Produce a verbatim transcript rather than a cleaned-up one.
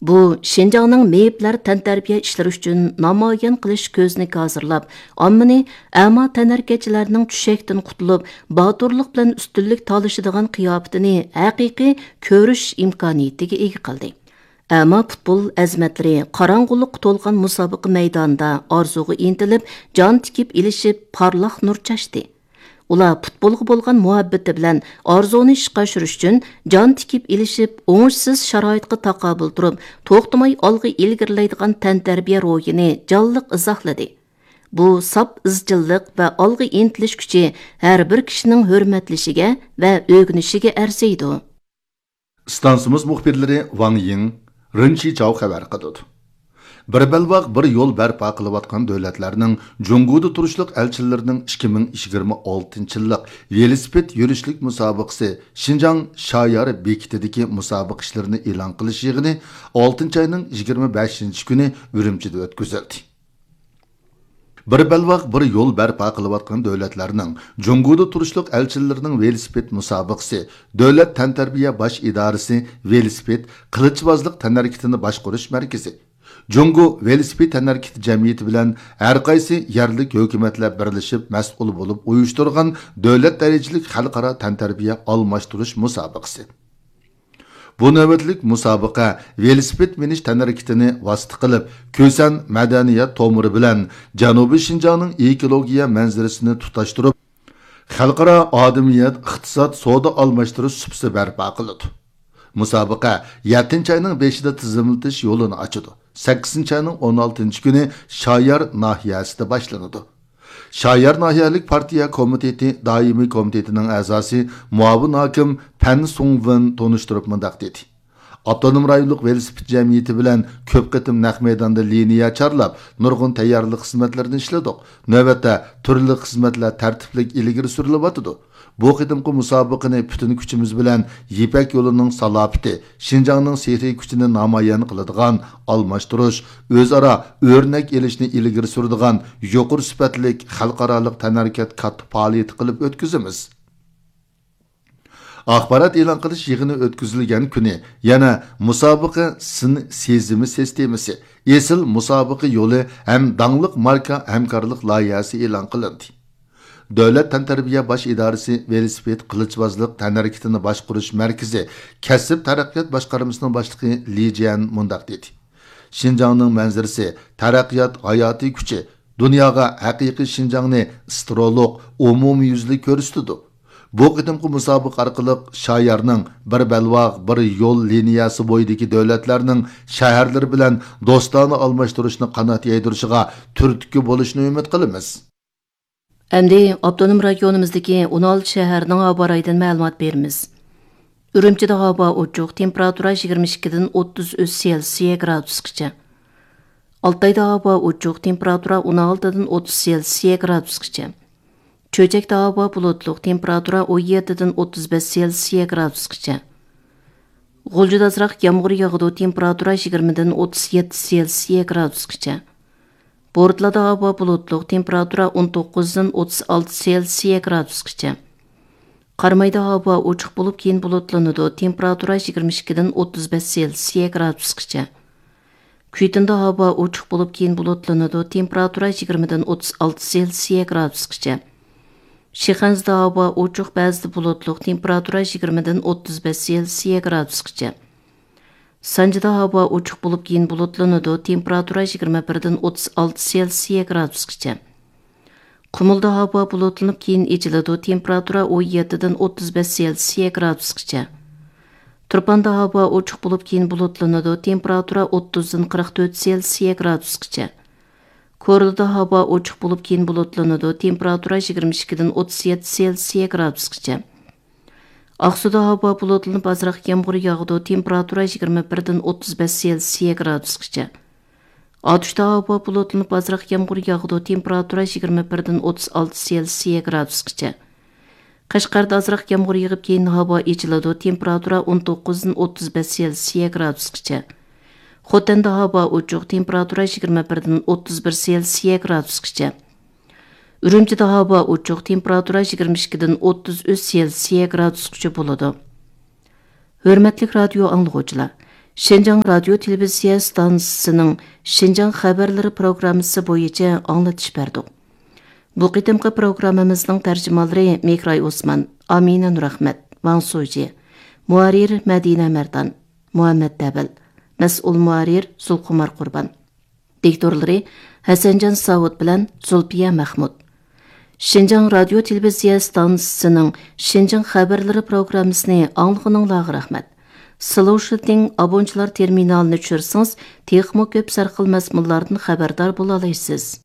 بۇ شىنجاڭنىڭ مېيىپلەر تەنتەربىيە ئىشلىرى ئۈچۈن نامايان قىلىش كۆزنىكى ھازىرلاپ، ئاممىنى ئەما تەنھەرىكەتچىلەرنىڭ چۈشەكتىن قۇتۇلۇپ، باتۇرلۇق بىلەن ئۈستۈنلۈك تالىشىدىغان قىياپىتىنى ھەقىقىي كۆرۈش ئىمكانىيىتىگە ئىگە قىلدى. ئەما پۇتبول ئەزىمەتلىرى قاراڭغۇلۇققا تولغان مۇسابىقە مەيدانىدا ئارزۇغا ئىنتىلىپ، جان تىكىپ ئېلىشىپ، پارلاق نۇر چاچتى. ئۇلار پۇتبولغا بولغان مۇھەببىتى بىلەن ئارزۇنى ئىشقا ئاشۇرۇش ئۈچۈن جان تىكىپ ئېلىشىپ، ئوڭۇشسىز شارائىتقا تاقابىل تۇرۇپ، توختىماي ئالغا ئىلگىرىلەيدىغان تەنتەربىيە روھىنى جانلىق ئىزاھلىدى. بۇ ساپ ئىزچىللىق ۋە ئالغا ئىنتىلىش كۈچى ھەر بىر كىشىنىڭ ھۆرمەتلىشىگە ۋە ئۆگىنىشىگە ئەرزىيدۇ. ئىستانسىمىز مۇخبىرلىرى ۋاڭ يىڭ، رېن چىچاۋ خەۋەر قىلىدۇ. بىر بەلباغ، بىر يول بەرپا قىلىۋاتقان دۆلەتلەرنىڭ جۇڭگودا تۇرۇشلۇق ئەلچىلىرىنىڭ ئىككى مىڭ يىگىرمە ئالتىنچى يىللىق ۋېلىسىپىت يۈرۈشلۈك مۇسابىقىسى شىنجاڭ شايار بېكىتىدىكى مۇسابىقە ئىشلىرىنى ئېلان قىلىش يىغىنى ئالتىنچى ئاينىڭ يىگىرمە بەشىنچى كۈنى ئۈرۈمچىدە ئۆتكۈزۈلدى. بىر بەلباغ، بىر يول بەرپا قىلىۋاتقان دۆلەتلەرنىڭ جۇڭگودا تۇرۇشلۇق ئەلچىلىرىنىڭ ۋېلىسىپىت مۇسابىقىسى، دۆلەت تەنتەربىيە باش ئىدارىسى ۋېلىسىپىت قىلىچبازلىق تەنھەرىكىتىنى باشقۇرۇش مەركىزى، جۇڭگو ۋېلىسىپىت تەنھەرىكىتى جەمئىيىتى بىلەن ھەرقايسى يەرلىك ھۆكۈمەتلەر بىرلىشىپ مەسئۇل بولۇپ ئۇيۇشتۇرغان دۆلەت دەرىجىلىك خەلقئارا تەنتەربىيە ئالماشتۇرۇش مۇسابىقىسى. بۇ نۆۋەتلىك مۇسابىقە ۋېلىسىپىت مىنىش تەنھەرىكىتىنى ۋاسىتە قىلىپ، كۈسەن مەدەنىيەت تومۇرى بىلەن جەنۇبىي شىنجاڭنىڭ ئېكولوگىيە مەنزىرىسىنى تۇتاشتۇرۇپ، خەلقئارا ئادىمىيەت، ئىقتىساد، سودا ئالماشتۇرۇش سۇپىسى بەرپا قىلىدۇ. مۇسابىقە يەتتىنچى ئاينىڭ بېشىدا تىزىملىتىش يولىنى ئاچىدۇ. سەككىزىنچى ئاينىڭ ئون ئالتىنچى كۈنى شايار ناھىيەسىدە باشلىنىدۇ. شايار ناھىيەلىك پارتىيە كومىتېتى دائىمىي كومىتېتىنىڭ ئەزاسى، مۇئاۋىن ھاكىم پەن سۇڭۋېن تونۇشتۇرۇپ مۇنداق دېدى: ئاپتونوم رايونلۇق ۋېلىسىپىت جەمئىيىتى بىلەن كۆپ قېتىم نەق مەيداندا لىنىيە چارلاپ، نۇرغۇن تەييارلىق خىزمەتلىرىنى ئىشلىدۇق. نۆۋەتتە تۈرلۈك خىزمەتلەر تەرتىپلىك ئىلگىرى سۈرۈلۈۋاتىدۇ. بۇ قېتىمقى مۇسابىقىنى پۈتۈن كۈچىمىز بىلەن يىپەك يولىنىڭ سالاپىتى، شىنجاڭنىڭ سېھرىي كۈچىنى نامايان قىلىدىغان، ئالماشتۇرۇش، ئۆزئارا ئۆرنەك ئېلىشنى ئىلگىرى سۈرىدىغان يۇقىرى سۈپەتلىك خەلقئارالىق تەنھەرىكەت كاتتا پائالىيىتى قىلىپ ئۆتكۈزىمىز. ئاخبارات ئېلان قىلىش يىغىنى ئۆتكۈزۈلگەن كۈنى يەنە مۇسابىقە سىن سېزىمى سىستېمىسى، ئېسىل مۇسابىقە يولى ھەم داڭلىق ماركا ھەمكارلىق لايىھەسى ئېلان قىلىندى. دۆلەت تەنتەربىيە باش ئىدارىسى ۋېلىسىپىت قىلىچبازلىق تەنھەرىكىتىنى باشقۇرۇش مەركىزى كەسىپ تەرەققىيات باشقارمىسىنىڭ باشلىقى لى جيەن مۇنداق دېدى: شىنجاڭنىڭ مەنزىرىسى، تەرەققىيات ھاياتىي كۈچى، دۇنياغا ھەقىقىي شىنجاڭنى ئىسترولۇق، ئومۇميۈزلۈك كۆرسىتىدۇ. بۇ قېتىمقى مۇسابىقە ئارقىلىق شايارنىڭ بىر بەلباغ، بىر يول لىنىيەسى بويىدىكى دۆلەتلەرنىڭ شەھەرلىرى بىلەن دوستانە ئالماشتۇرۇشنى قانات يايدۇرۇشىغا تۈرتكە بولۇشىنى ئۈمىد قىلىمىز. ئەمدى ئاپتونوم رايونىمىزدىكى ئون ئالتە شەھەرنىڭ ھاۋا رايىدىن مەلۇمات بېرىمىز. ئۈرۈمچىدە ھاۋا ئوچۇق، تېمپېراتۇرا يىگىرمە ئىككىدىن ئوتتۇز ئۈچ سېلسىيە گرادۇسقىچە. ئالتايدا ھاۋا ئوچۇق، تېمپېراتۇرا ئون ئالتىدىن ئوتتۇز سېلسىيە گرادۇسقىچە. چۆچەكتە ھاۋا بۇلۇتلۇق، تېمپېراتۇرا ئون يەتتىدىن ئوتتۇز بەش سېلسىيە گرادۇسقىچە. غۇلجىدا ئازراق يامغۇر ياغىدۇ، تېمپېراتۇرا يىگىرمىدىن ئوتتۇز يەتتە سېلسىيە گرادۇسقىچە. بورتالادا ھاۋا بۇلۇتلۇق، تېمپېراتۇرا ئون توققۇزدىن ئوتتۇز ئالتە سېلسىيە گرادۇسقىچە. قارامايدا ھاۋا ئوچۇق بولۇپ، كېيىن بۇلۇتلىنىدۇ، تېمپېراتۇرا يىگىرمە ئىككىدىن ئوتتۇز بەش سېلسىيە گرادۇسقىچە. كۈيتۇندا ھاۋا ئوچۇق بولۇپ، كېيىن بۇلۇتلىنىدۇ، تېمپېراتۇرا يىگىرمىدىن ئوتتۇز ئالتە سېلسىيە گرادۇسقىچە. شىخەنزىدە ھاۋا ئوچۇق، بەزىدە بۇلۇتلۇق، تېمپېراتۇرا يىگىرمىدىن ئوتتۇز بەش سېلسىيە گرادۇسقىچە. سانجىدا ھاۋا ئوچۇق بولۇپ، كېيىن بۇلۇتلىنىدۇ، تېمپېراتۇرا يىگىرمە بىردىن ئوتتۇز ئالتە سېلسىيە گرادۇسقىچە. قۇمۇلدا ھاۋا بۇلۇتلىنىپ، كېيىن ئېچىلىدۇ، تېمپېراتۇرا ئون يەتتىدىن ئوتتۇز بەش سېلسىيە گرادۇسقىچە. تۇرپاندا ھاۋا ئوچۇق بولۇپ، كېيىن بۇلۇتلىنىدۇ، تېمپېراتۇرا ئوتتۇزدىن قىرىق تۆت سېلسىيە گرادۇسقىچە. كورلىدا ھاۋا ئوچۇق بولۇپ، كېيىن بۇلۇتلىنىدۇ، تېمپېراتۇرا يىگىرمە ئىككىدىن ئوتتۇز يەتتە سېلسىيە گرادۇسقىچە. ئاقسۇدا ھاۋا بۇلۇتلىنىپ، ئازراق يامغۇر ياغىدۇ، تېمپېراتۇرا يىگىرمە بىردىن ئوتتۇز بەش سېلسىيە گرادۇسقىچە. ئاتۇشتا ھاۋا بۇلۇتلىنىپ، ئازراق يامغۇر ياغىدۇ، تېمپېراتۇرا يىگىرمە بىردىن ئوتتۇز ئالتە سېلسىيە گرادۇسقىچە. قەشقەردە ئازراق يامغۇر يېغىپ، كېيىن ھاۋا ئېچىلىدۇ، تېمپېراتۇرا ئون توققۇزدىن ئوتتۇز بەش سېلسىيە گرادۇسقىچە. خوتەندە ھاۋا ئوچۇق، تېمپېراتۇرا يىگىرمە بىردىن ئوتتۇز بىر سېلسىيە گرادۇسقىچە. ئۈرۈمچىدە ھاۋا ئوچۇق، تېمپېراتۇرا يىگىرمە ئىككىدىن ئوتتۇز ئۈچ سېلسىيە گرادۇسقىچە بولىدۇ. ھۆرمەتلىك رادىيو ئاڭلىغۇچىلار، شىنجاڭ رادىيو تېلېۋىزىيە ئىستانسىسىنىڭ شىنجاڭ خەۋەرلىرى پروگراممىسى بويىچە ئاڭلىتىش بەردۇق. بۇ قېتىمقى پروگراممىمىزنىڭ تەرجىمانلىرى مىكراي ئوسمان، ئامىنە نۇرئەخمەت، ۋاڭ سۇجى، مۇھەررىر مەدىنە مەردان، مۇھەممەت دەۋەل، مەسئۇل مۇھەررىر زۇلخۇمار قۇربان. دىكتورلىرى ھەسەنجان ساۋۇت بىلەن زۇلپىيە مەخمۇت. شىنجاڭ رادىيو تېلېۋىزىيە ئىستانسىسىنىڭ شىنجاڭ خەۋەرلىرى پروگراممىسىنى ئاڭلىغىنىڭلارغا رەھمەت. سلوشىتىڭ ئابونچىلار تېرمىنالىنى چۈشۈرسىڭىز، تېخىمۇ كۆپ سەرخىل مەزمۇنلاردىن خەۋەردار بولالايسىز.